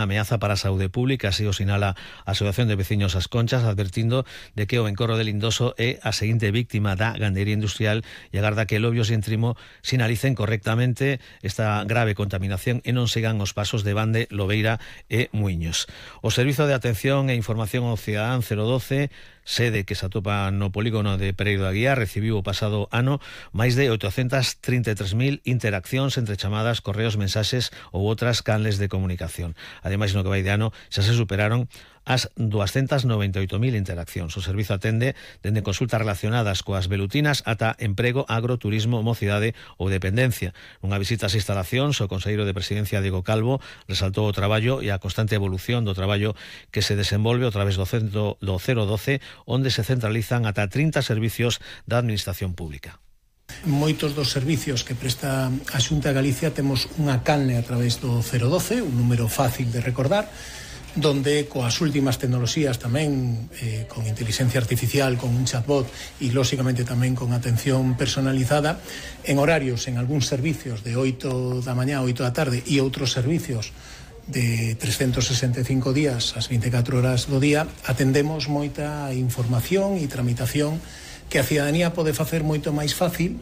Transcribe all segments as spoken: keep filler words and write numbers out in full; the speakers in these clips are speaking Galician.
Ameaza para a saúde pública, así o sinala a Asociación de Veciños As Conchas, advertindo de que o encorro de Lindoso é a seguinte víctima da gandería industrial e agarda que Lobios e Entrimo sinalicen correctamente esta grave contaminación e non sigan os pasos de Bande, Lobeira e Muiños. O Servizo de Atención e Información ao Cidadán cero doce, sede que se atopa no polígono de Pereiro da Guía, recibiu o pasado ano máis de oitocentas trinta e tres mil interaccións entre chamadas, correos, mensaxes ou outras canles de comunicación. Ademais, no que vai de ano, xa se superaron as doscientas noventa e oito mil interaccións. O servizo atende dende consultas relacionadas coas velutinas ata emprego, agro, turismo, mocidade ou dependencia. Nunha visita ás instalacións, o conselleiro de Presidencia, Diego Calvo, resaltou o traballo e a constante evolución do traballo que se desenvolve a través do centro do cero doce, onde se centralizan ata trinta servicios da Administración Pública. Moitos dos servicios que presta a Xunta de Galicia temos unha canle a través do cero doce, un número fácil de recordar, donde coas últimas tecnoloxías tamén, eh, con inteligencia artificial, con un chatbot e lóxicamente tamén con atención personalizada, en horarios en algúns servicios de oito da mañá a oito da tarde e outros servicios de trescentos sesenta e cinco días ás vinte e catro horas do día, atendemos moita información e tramitación que a cidadanía pode facer moito máis fácil.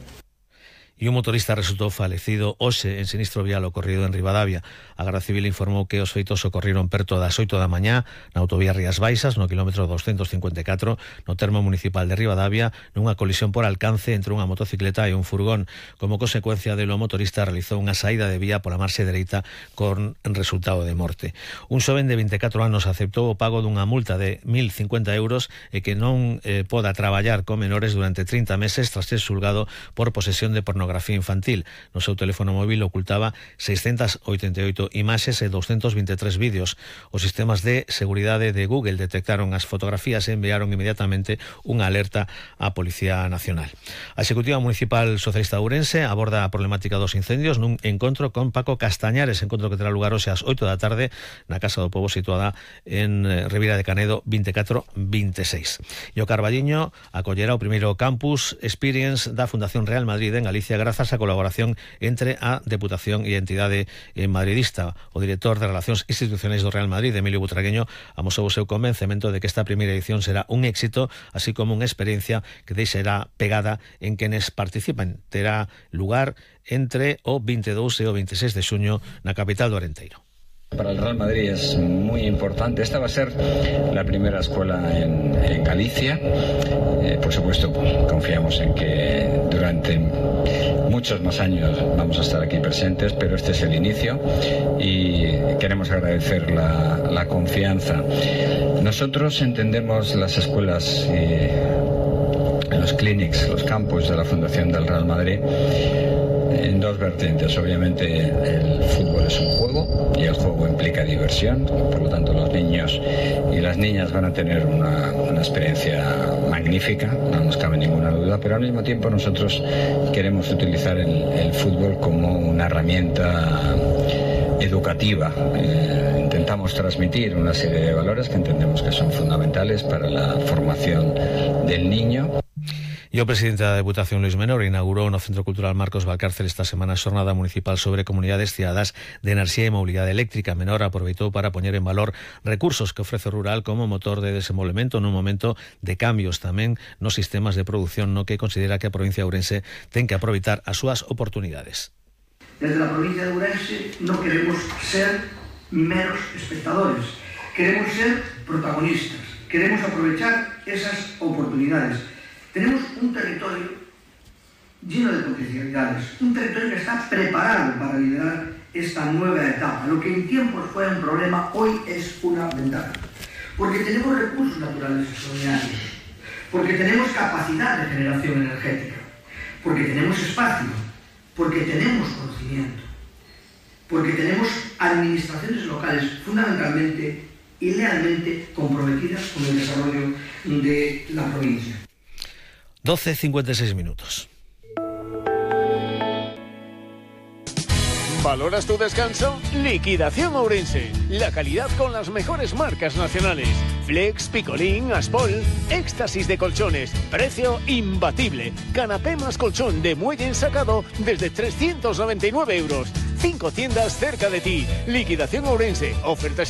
E un motorista resultou falecido hoxe en sinistro vial ocorrido en Ribadavia. A Garda Civil informou que os feitos ocorriron perto das oito da mañá na autovía Rías Baixas, no quilómetro doscientos cincuenta e catro, no termo municipal de Ribadavia, nunha colisión por alcance entre unha motocicleta e un furgón. Como consecuencia delo, o motorista realizou unha saída de vía pola marxe dereita con resultado de morte. Un xoven de vinte e catro anos aceptou o pago dunha multa de mil cincuenta euros e que non eh, poda traballar con menores durante trinta meses tras ser xulgado por posesión de pornografía infantil. No seu teléfono móvil ocultaba seiscentas oitenta e oito imaxes e doscientos vinte e tres vídeos. Os sistemas de seguridade de Google detectaron as fotografías e enviaron inmediatamente unha alerta á Policía Nacional. A Executiva Municipal Socialista de Ourense aborda a problemática dos incendios nun encontro con Paco Castañares, encontro que terá lugar hoxe ás oito da tarde na Casa do Pobo situada en Ribeira de Canedo vinte e catro veintiséis. E o Carballiño acollerá o primeiro campus Experience da Fundación Real Madrid en Galicia grazas á colaboración entre a Deputación e a entidade madridista. O director de Relacións Institucionais do Real Madrid, Emilio Butragueño, amosou o seu convencemento de que esta primeira edición será un éxito, así como unha experiencia que deixará pegada en quenes participan. Terá lugar entre o vinte e dous e o veintiséis de xuño na capital do Arenteiro. Para el Real Madrid es muy importante. Esta va a ser la primera escuela en, en Galicia. Eh, por supuesto, confiamos en que durante muchos más años vamos a estar aquí presentes, pero este es el inicio y queremos agradecer la, la confianza. Nosotros entendemos las escuelas y los clinics, los campus de la Fundación del Real Madrid en dos vertientes. Obviamente el fútbol es un juego y el juego implica diversión, por lo tanto los niños y las niñas van a tener una, una experiencia magnífica, no nos cabe ninguna duda, pero al mismo tiempo nosotros queremos utilizar el, el fútbol como una herramienta educativa. Eh, intentamos transmitir una serie de valores que entendemos que son fundamentales para la formación del niño. E o presidente da Deputación, Luís Menor, inaugurou no Centro Cultural Marcos Valcárcel esta semana a xornada municipal sobre comunidades cidadás de enerxía e mobilidade eléctrica. Menor aproveitou para poñer en valor recursos que ofrece o rural como motor de desenvolvemento nun momento de cambios tamén nos sistemas de produción, no que considera que a provincia de Ourense ten que aproveitar as súas oportunidades. Desde a provincia de Ourense non queremos ser meros espectadores, queremos ser protagonistas, queremos aprovechar esas oportunidades. Tenemos un territorio lleno de potencialidades, un territorio que está preparado para liderar esta nueva etapa. Lo que en tiempos fue un problema, hoy es una ventaja. Porque tenemos recursos naturales extraordinarios, porque tenemos capacidad de generación energética, porque tenemos espacio, porque tenemos conocimiento, porque tenemos administraciones locales fundamentalmente y lealmente comprometidas con el desarrollo de la provincia. doce cincuenta y seis minutos. ¿Valoras tu descanso? Liquidación Ourense. La calidad con las mejores marcas nacionales. Flex, Picolín, Aspol. Éxtasis de colchones. Precio imbatible. Canapé más colchón de muelle ensacado desde trescientos noventa y nueve euros. Cinco tiendas cerca de ti. Liquidación Ourense. Ofertas